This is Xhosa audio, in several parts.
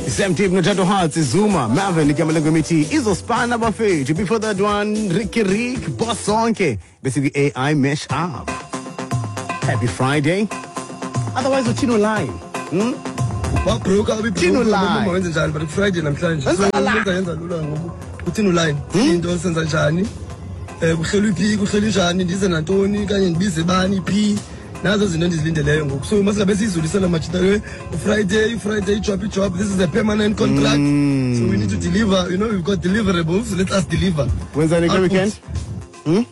Sam Deep noTato Hearts Zuma Marvin igama lengoma ithi izospana bafethu. Before that one, Ricky Rick Boss Sonke bese kwi-AI Mesh Up. Happy Friday. Otherwise uthino line. Wabroka. Thino line. Wenze njani, but Friday namhlanje, so Wenza la. yenza lula ngoku. Uthini line into, senza njani, kuhlelwe phi, kuhlelwe njani, ndize nantoni kanye ndibize bani phi, nazo izinto endizilindeleyo ngoku. So masingabe siyizulisela majita. Friday, Friday, job, job. This is a permanent contract, so we need to deliver. We've got deliverables. Let us deliver. Wenzani kule Output. weekend?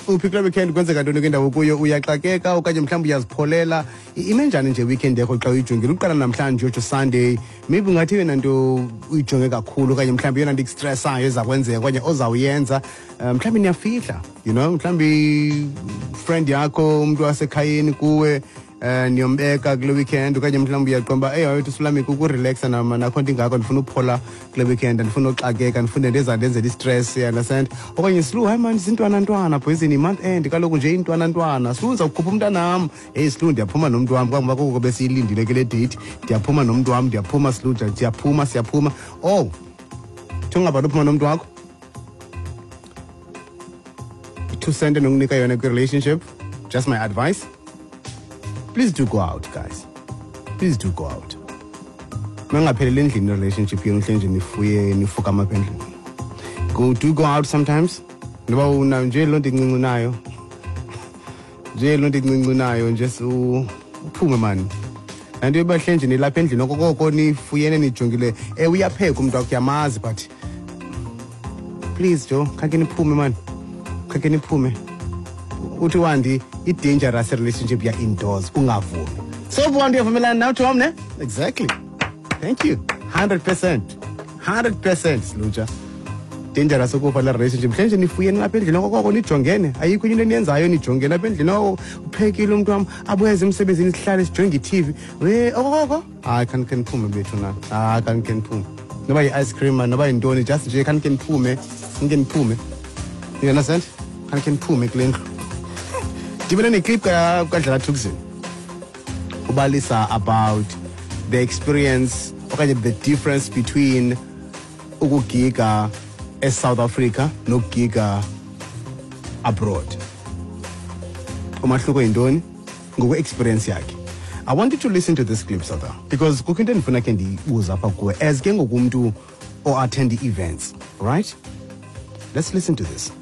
Uphi kule weekend? Kwenzeka ntoni kwindawo kuyo? Uyaxakeka okanye mhlawumbi uyazipholela? Ime njani nje weekend yakho xa uyijongile, uqala namhlanje uyotsho Sunday? Maybe ungathi yona nto uyijonge kakhulu okanye mhlawumbi yona nto ikustressayo eza kwenzeka okanye ozawuyenza, mhlawumbi niyafihla, mhlawumbi friend yakho, umntu wasekhayeni kuwe, niyombeka kule weekend, okanye mhlawumbi uyaqonda uba eyi wethu sulami kukurelaxa nama nakho nto ingako, ndifuna uphola kule weekend, andifuna uxakeka, ndifuna into ezandenzela istress, you understand? Okanye Slu, hayi mani, zintwanantwana poison, month end kaloku nje, intwanantwana. Slu, ndizawukhupha umntanam. Heyi Slu, ndiyaphuma nomntu wam, kangoba koko besiyilindile kule date, ndiyaphuma nomntu wam, ndiyaphuma Slu, ndiyaphuma, siyaphuma. Oh, thi ungabhali uphuma nomntu wakho, i-2 cent enokunika yona kwi-relationship, just my advice, please do go out, guys. Please do go out. Mangapheleli endlini relationship yenu, hle nje nifuye nifukama apha endlini. Do go out sometimes, noba una nje loo nto incinci nayo, nje loo nto incinci nayo nje, uphume mani. Nanto yoba hle nje nilapha endlini okokoko nifuyene nijongile, ewe uyapheka umntu wakho, uyamazi, but please jo, khakhe niphume mani, khakhe niphume. Uthi wandi i-dangerous relationship ya-indoors, ungavumi. So wandi, uyavumelana nawe Tom, ne? Exactly, thank you. 100%, 100%, Sluja. Dangerous ukufa la relationship mhle nje nifuyeni lapha endlini okokoko nijongene, ayikho into eniyenzayo, nijongene apha endlini. Oko uphekile umntu wam, abuyeze emsebenzini, sihlale sijonge i-TV we okokoko. Hayi, khanikhe niphume bethu na, hayi, khanikhe niphume, noba yi-ice cream man, noba yintoni, just nje khanikhe niphume, khanikhe niphume, you understand? Khanikhe niphume kule ndlu. Ndibone neclip kaDlala Thukzin ubalisa about the experience okanye the difference between ukugiga eSouth Africa nokugiga abroad. Umahluko yintoni ngokwe-experience yakhe? I want you to listen to this clip, Sata, because kukho into endifuna khe ndiyibuza apha kuwe as ke ngokumntu o-attend i-events, right? Let's listen to this.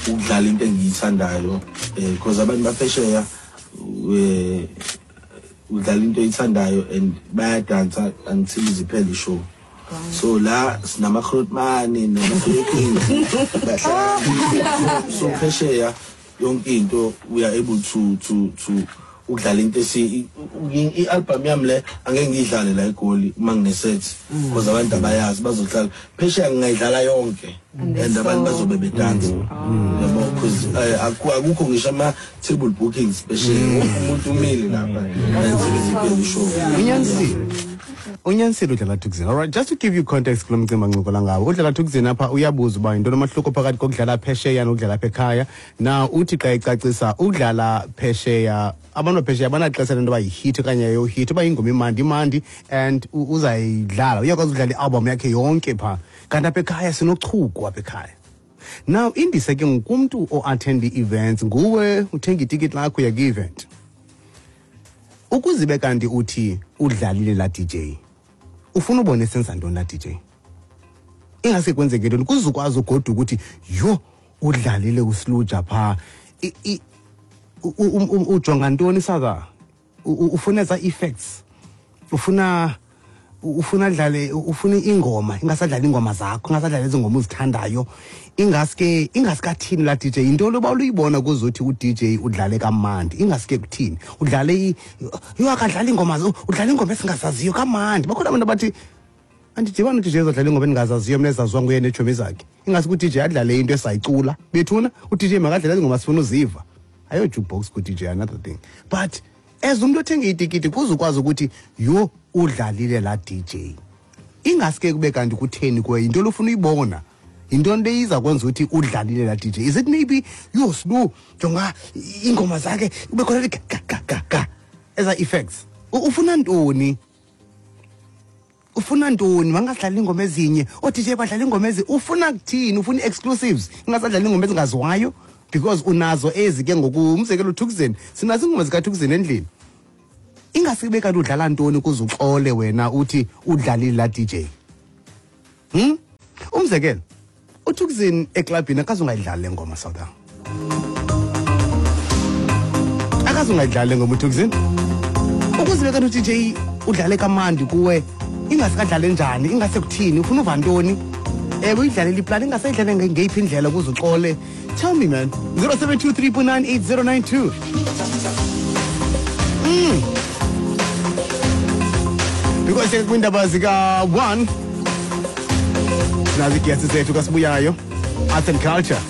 Ukudlala into engiyithandayo, because abantu baphesheya, udlala into oyithandayo and bayadansa until iziphele ishow. So la sinama-grootmane nama-Philippines, so phesheya yonke into we are able to ukudlala into esi i-album yami le angeke ngiyidlale la eGoli uma ngine-set, because abantu abayazi, bazohlala. Phesheya ngingayidlala yonke and abantu bazobe bedansa, yabo, because akukho ngisho ama-table bookings phesheya, wonke umuntu umile lapha until iziphele ishow. Unyanisile, unyanisile uDlala Thukzin. Alright, just to give you context kulo mcimbi ancokola ngawo uDlala Thukzin apha, uyabuza uba yintoni umahluko phakathi kokudlala phesheya nokudlala apha ekhaya. Now uthi xa ecacisa, ukudlala phesheya, abantu baphesheya banaxesha lento yoba yihit okanye ayohit, uba ingoma imandi, imandi and uzayidlala, uyakwazi ukudlala i-album yakhe yonke phaa, kanti apha ekhaya sinochuku apha ekhaya. Now indise ke ngokumntu o-attend i-events, nguwe uthenga itikiti lakho, uya kwi-event, ukuze ibe kanti uthi udlalile laa DJ, ufuna ubone esenza ntoni laa DJ, ingase kwenzeke ntoni kuze ukwazi ugoduka ukuthi yho, udlalile uSluja phaa. Ujonga ntoni saka? Ufuna eza effects, ufuna dlale, ufuna ingoma, ingasadlala ingoma zakho, ingasadlala ezi ngoma uzithandayo, ingaske ingasikathini laa DJ? Yintoni loba uluyibona kuzothi u-DJ udlale kamandi? Ingaske kuthini udlale yho, akadlala ingoma, udlala ingoma esingazaziyo kamandi. Bakhona abantu abathi andidibani u-DJ ezodlala ingoma endingazaziyo mna, ezaziwa nguye neetshomi zakhe. Ingasuke u-DJ adlale into esayicula bethuna. U-DJ makadlale ezi ngoma sifuna uziva, ayo-jukebox ku-DJ, another thing. But as umntu othenga itikiti, kuze ukwazi ukuthi yho, udlalile laa DJ, ingaske kube kanti kutheni kuwe? Yinto lofuna uyibona, yintoni le iza kwenza ukuthi udlalile laa DJ? Is it maybe, yho Slu, jonga iingoma zakhe, kube khona li ga ga ga ga, eza effects? Ufuna ntoni? Ufuna ntoni? Bangasidlali ingoma ezinye, oo-DJ badlala ingoma ezi. Ufuna kuthini? Ufuna ii-exclusives, ingasadlali ingoma ezingaziwayo because unazo ezi ke ngoku. Umzekelo, uThukzin, sinazo iingoma zikaThukzin endlini. Ingasibe kanti udlala ntoni ukuze uxole wena uthi udlalile laa DJ? Umzekelo, uThukzin eklabhini akazungayidlali le ngoma, South, akazungayidlali le ngoma uThukzin. Ukuze ube kanti u-DJ udlale kamandi kuwe, ingasikadlale njani? Ingase kuthini? Ufuna uva ntoni? Ewe, uyidlalele iplani, ingasayidlale ngeyiphi indlela ukuze uxole? Tell me, man. 072 3.98092. Because kwiindaba zika-1 sinazo iigesi zethu kasibuyayo, arts and culture.